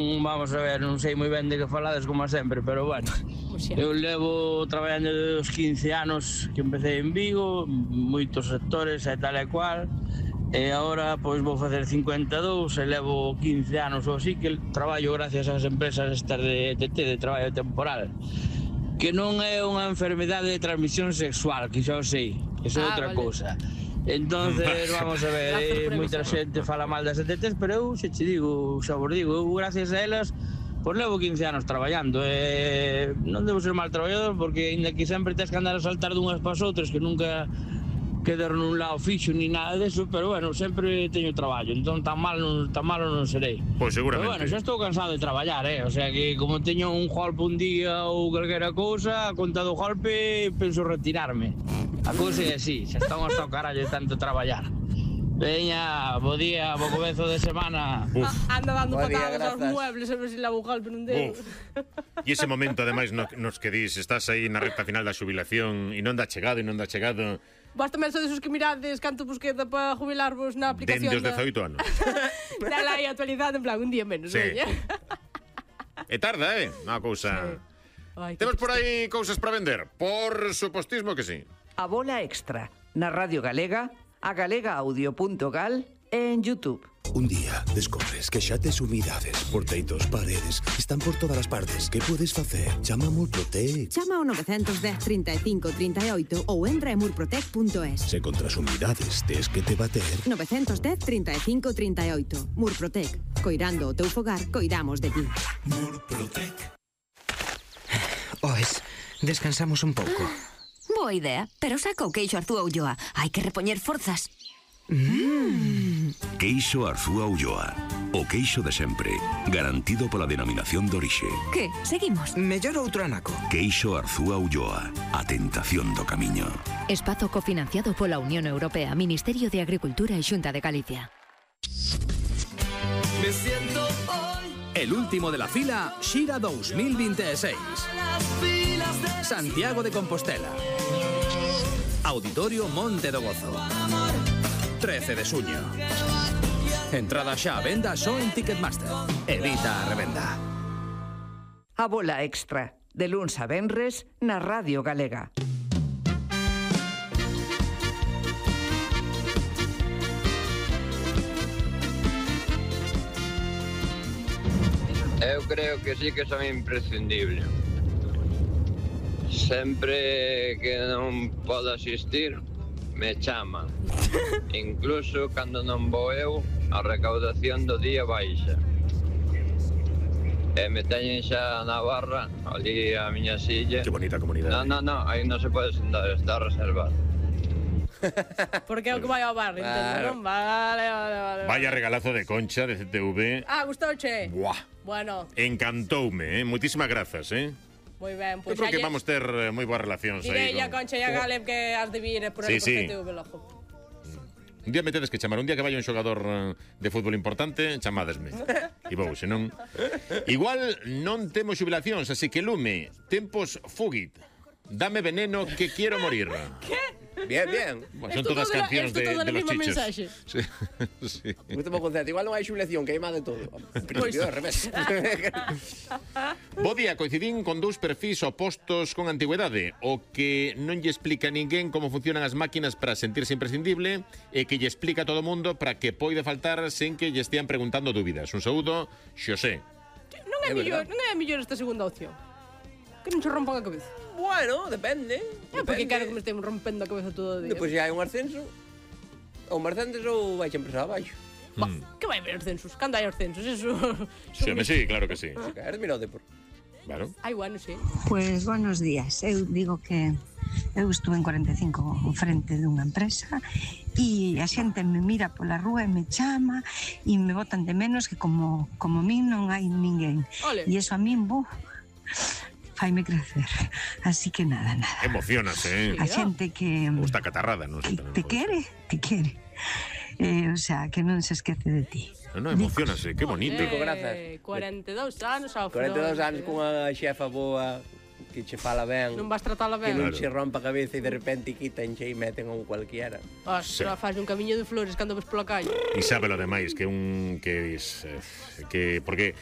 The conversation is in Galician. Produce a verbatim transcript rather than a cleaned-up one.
Vamos a ver, non sei moi ben de que falades como sempre, pero bueno, eu levo traballando desde os quince anos que empecé en Vigo, moitos sectores e tal e cual, e agora pois vou facer cincuenta e dous e levo quince anos ou así que traballo gracias ás empresas estas de E T T, de traballo temporal, que non é unha enfermedade de transmisión sexual, que xa o sei, que é ah, outra vale. cousa. Entonces, vamos a ver, eh, moita xente fala mal das E T Ts, pero eu xe che digo, xa vos digo, eu gracias a elas pois levo quince anos traballando e non debo ser mal traballador porque ainda que sempre tens que andar a saltar dunhas para as outras que nunca quedar nun lado fixo ni nada deso, pero bueno, sempre teño traballo, entón tan mal non, tan malo non serei. Pois seguramente. Pero bueno, xa estou cansado de traballar, eh, o sea que como teño un golpe un día ou calquera cousa, a conta do golpe penso retirarme. A cousa é así, xa estamos hasta o carallo de tanto traballar. Veña, bo día, bo comezo de semana. Uf. Anda dando patadas aos muebles a ver se la bucal pero non deu. E ese momento, ademais, no, nos que dis, estás aí na recta final da xubilación e non dá chegado e non dá chegado. Vos tamén sodes os que mirades canto vos queda para jubilarvos na aplicación. Dende os dezaoito anos. Dala aí actualizada, en plan, un día menos, sí. veña. E tarda, eh? Unha cousa... Sí. Ay, temos por aí cousas para vender? Por supostismo que sí. A bola extra, na Radio Galega, a galega audio punto gal e en YouTube. Un día descobres que xa tes humidades, porteitos, paredes, están por todas as partes. Que podes facer? Chama a Murprotec. Chama ao nove un cero, trinta e cinco, trinta e oito ou entra en murprotec punto es. Se contra as humidades tes que te bater... nove un cero, trinta e cinco, trinta e oito. Murprotec. Coirando o teu fogar, coidamos de ti. Murprotec. Oes, descansamos un pouco. Boa idea, pero saca o queixo Arzúa Ulloa. Hai que repoñer forzas. Mm. Queixo Arzúa Ulloa. O queixo de sempre, garantido pola denominación de orixe. Que? Seguimos? Mellor outro anaco. Queixo Arzúa Ulloa. A tentación do camiño. Espazo cofinanciado pola Unión Europea, Ministerio de Agricultura e Xunta de Galicia. Me siento hoy. El último de la fila, Xira dos mil veintiséis. Santiago de Compostela. Auditorio Monte do Gozo. trece de xuño. Entrada xa a venda só en Ticketmaster. Evita a revenda. A bola extra, de luns a venres, na Radio Galega. Eu creo que sí que son imprescindible. Sempre que non podo asistir, me chama. Incluso cando non vou eu, a recaudación do día baixa. E me teñen xa na barra, ali a miña silla. Que bonita comunidade. Non, non, non, aí non se pode sentar, está reservado. Porque é o que vai ao bar, entendo, non? Vale, vale, vale. Vaya regalazo de Concha de C T V. Ah, gustouche? Buah. Bueno. Encantoume, eh? Moitísimas grazas, eh? Moi ben, pois Eu creo que ayer... vamos ter eh, moi boas relacións aí. Direi a Concha e a Galeb que has de vir por sí, aí por sí. C T V logo. Un día me tedes que chamar, un día que vaya un xogador de fútbol importante, chamádesme. E vou, senón... Igual non temos xubilacións, así que lume, tempos fugit. Dame veneno que quiero morir. Que? Bien, bien. Bueno, son todas cancións de, de los chichos. Sí, sí. Gusto mo concepto. Igual non hai xubilación, que hai máis de todo. Principio ao revés. Bo día, coincidín con dous perfis opostos con antigüedade. O que non lle explica a ninguén como funcionan as máquinas para sentirse imprescindible e que lle explica a todo o mundo para que poide faltar sen que lle estean preguntando dúbidas. Un saúdo, Xosé. Non é, mellor, non é mellor esta segunda opción. Que non se rompan a cabeza. Bueno, depende. É porque quero que me estemos rompendo a cabeza todo o día. Depois se hai un ascenso, ou un ascenso ou vai sempre xa abaixo. Mm. Que vai haber ascensos? Cando hai ascensos? Eso... Sí, me sí, claro que sí. Si caer, mira o Depor. Claro. Ai, bueno, sí. Pues buenos días. Eu digo que eu estuve en cuarenta e cinco en frente dunha empresa e a xente me mira pola rúa e me chama e me botan de menos que como, como min non hai ninguén. Ole. E eso a min, bo... faime crecer, así que nada, nada. Emocionase, eh? A xente que... Gusta catarrada, non sei. Te quere, te quere. Eh, o sea, que non se esquece de ti. Non, non, emocionase, que bonito. Dico, grazas. cuarenta e dous anos ao cuarenta e dous anos cunha xefa boa que che fala ben. Non vas tratala ben. Que non che rompa a cabeza e de repente quitanche e meten a un cualquiera. Ostras, faz un camiño de flores cando ves pola calle. E sabe lo demais, que un... que, es, que porque